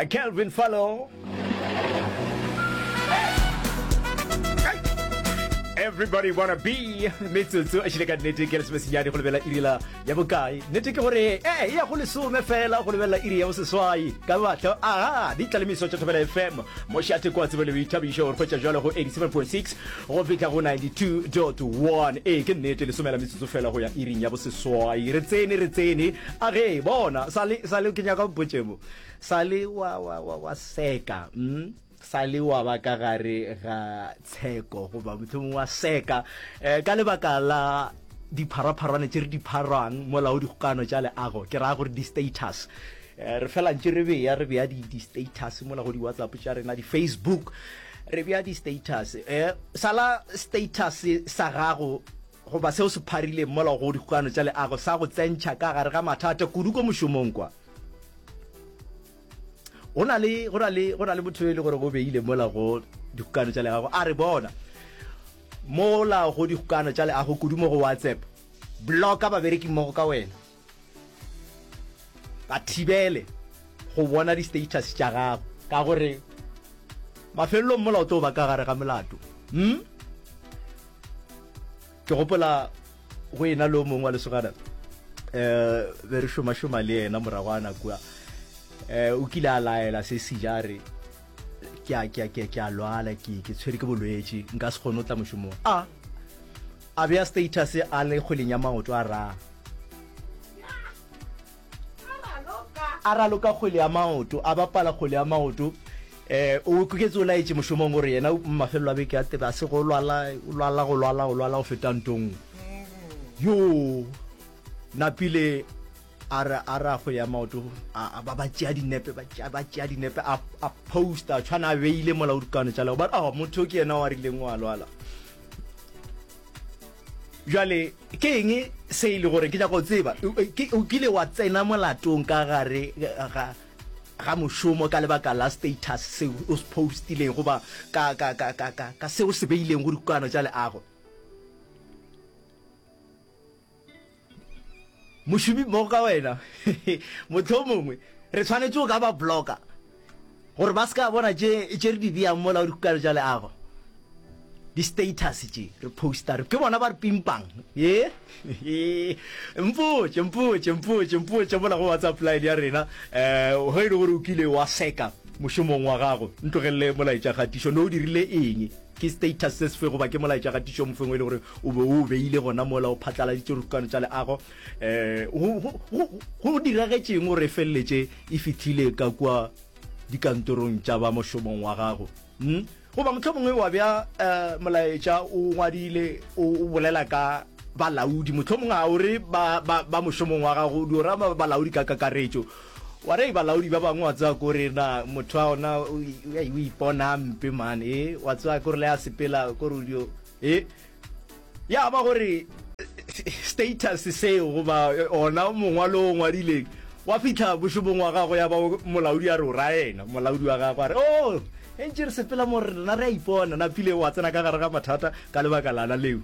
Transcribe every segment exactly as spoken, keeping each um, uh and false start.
Kelvin Fallo. Everybody wanna be metsotso a šile ka nnete ke lesomesenyane go lebelela iri la ya bokae. Nnete ke gore e ya go lesome fela go lebelela iri ya boseswai ka mahlo. Aha, di tlalemiso tša Thobela F M, mošate kwa tsebo le boithabišo, re hwetša jalo go eighty-seven point six go fihla go ninety-two point one. Ee, ke nnete, lesome la metsotso fela go ya iring ya boseswai. Re tsene, re tsene. A ge bona sale sale ke nyaka mpotše mo sale wa wa wa wa seka mm? Sale wa ba ka gare ga tsheko goba mohlomongwe wa seka um ka lebaka la dipharapharwane tše re di pharang mola o dikgokano tša leago, ke raya gore di-status. um re fela ntše re bea re bea di-status mola go di-WhatsApp tša rena, di-Facebook, re bea di-status. um sala status sa gago goba seo se pharileng mola go dikgokano tša leago sa go tsentšha ka gare ga mathata kudu ko mošomong kwa. Go na le go na le go na le motho e le gore go beile mola go dikgokano tša leago, a re bona mola go dikgokano tša leago kudu mo go WhatsApp, blocka babereki mmogo ka wena, ba thibele go bona di-status tša gago, ka gore mafelelong mola o tlo ba ka gare ga molato. hmm? Ke gopola go ena le o mongwe wa lesogana, um be re šomašoma le yena moragwana kua, um o kile a laela se seja, a re ke a ke a ke ke a lwala, ke ke tshwere ke bolwetši, nka se kgone go tla mošomong. A a bea status a le kgweleng ya maoto, a ra a raloka kgwele ya maoto, a bapala kgwele ya maoto. um o kuketse o laetše mošomong gore yena mafelelo a beke a tebe a se go lwala, o lwala go lwala go lwala go feta ntong yo napile. A re a ra kgwele ya maoto, a ba ba tšea dinepe, ba tšea ba tšea dinepe, a a posta tshwana a beile mola o dikano tša lego ba oh motho ke yena wa rileng wa lwala. Jwale ke eng se e le gore ke nyaka go tseba, o kile wa tsena molatong ka gare ga ga mošomo ka lebaka la status seo o se postileng goba ka ka ka ka ka ka seo se beileng go dikano tša leago? Mošomi mmogo ka wena mohlomongwe re tshwanetše go ka ba blocka gore ba se ka bona tše tše re di beang mola go dikgokano tša leago, di-status tše re posta re ke bona ba re pimpang ye. Mpotše, mpotše, mpotše, mpotše mola go WhatsApp line ya rena, um ge e le gore o kile wa seka mošomong wa gago. Ntlogelele molaetša kgatišo, ne o dirile eng? Ke status se sefe goba ke molaetša kgatišo mofeng o e le gore o be o beile gona mola o phatlaladitše dikgokano tša leago? um go diragetšeng gore e feleletše e fihlile ka kua dikantorong tša ba mošomong wa gago? hmm? Goba mohlomongwe wa bea um molaetša o ngwadile o bolela ka balaodi, mohlomongwe ga o re ba, ba, ba mošomong wa gago, o dio ra balaodi ka kakaretšo, wa re balaodi ba bangwe wa tseba kore na motho wa ona o ipona mpe man, e wa tseba kore le a sepela kore o dio e ya ba gore status seo goba ona mongwalo o ngwadileng wa fihla mošomong wa gago, ya ba molaodi a re o ra yena molaodi wa gago a re o e ntše re sepela mo rena re a ipona napile, wa tsena ka gare ga mathata ka lebaka lana leo.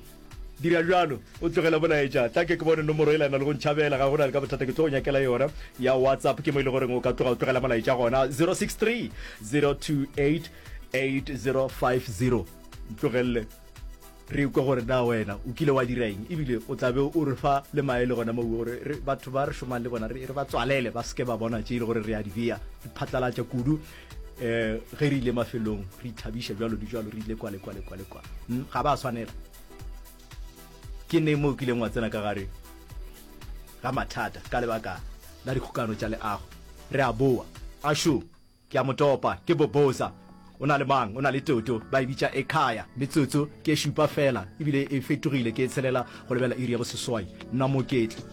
Dira bjalo, o tlogele molaetša, tla ke ke bone nomoro e lana le go ntšhabela, ga go na le ka bothata, ke tlo go nyakela yona ya WhatsApp, ke mo e le goreng o ka tloga o tlogela molaetša gona, zero six three zero two eight eight zero five zero. Ntlogelele re kwe gore na wena o kile wa dira eng, ebile o tla be o re fa le maele gona moo gore re batho ba re šomang le bona re ba tswalele ba seke ba bona tše e le gore re a di bea di phatlalatša kudu, um ge re ile mafelong re ithabiša jalo le jalo, re ile kwa le kwa le kwa le kwa, ga ba swanela. Ke neng mo o kileng wa tsena ka gare ga mathata ka lebaka la dikgokano tša leago? Re a boa. Ašo, ke a mo topa, ke Boboza. O na le mang? O na le Toto. Ba e bitša Ekhaya. Metsotso ke e šupa fela, ebile e fetogile ke e tshelela go lebela iri ya boseswai. Nna Moketli.